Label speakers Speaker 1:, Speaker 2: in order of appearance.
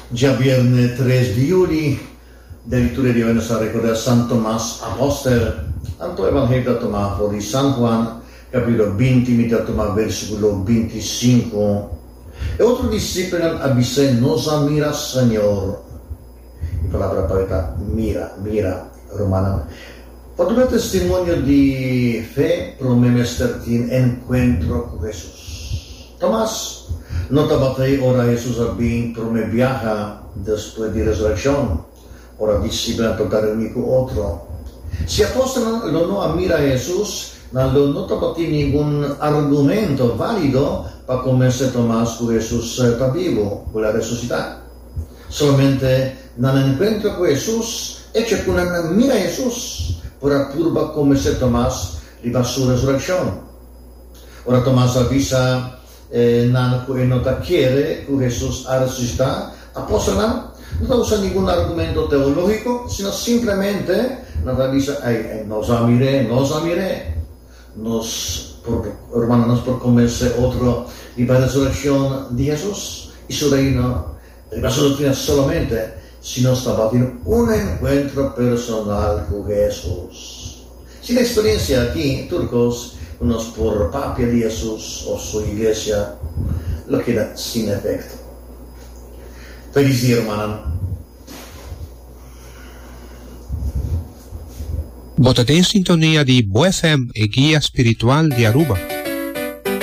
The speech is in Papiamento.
Speaker 1: Djabierne tres di juli, den liturgia di awe nos a recorda San Tomas Apostel. Anto Evangelio ta tuma for di San Juan, capitulo binti, mi ta tuma versiculo bintisinku. E otro disipelnan a bis'é, Nos a mira Señor. E palabra pa ta mira, mira, rumannan. Pa duna testimonio di fe, promé mester tin enkuentro ku Hesus. Tomas no tabata ei ora Hesus a bin promé biaha despues di resurekshon, ora disipelnan tabata reuní ku otro. Si apòstelnan lo no a mira Hesus, nan lo no tabatin ningun argumento válido pa konvensé Tomas ku Hesus ta bibu, ku el a resusitá. Solamente nan enkuentro ku Hesus, echo ku nan a mira Hesus, por a purba konvensé Tomas riba su resurekshon. Ora Tomas a bisa nan ku e no ta kere ku Hesus a resusitá, apòstelnan no ta usa ningun argumento teológiko, sino simplemente nan ta bisa, Ei, nos a mir'é, nos a mir'é. Nos por, rumannan, nos por konvensé otro riba e resurekshon di Hesus i su Reino riba su doktrina solamente si nos tabatin un enkuentro personal ku Hesus. Sin e eksperensia aki, tur kos ku nos por papia di Hesus òf su iglesia lo keda sin efekto. Felis dia, rumannan!
Speaker 2: Bo ta den sintonia di Bo FM, e guia spiritual di Aruba.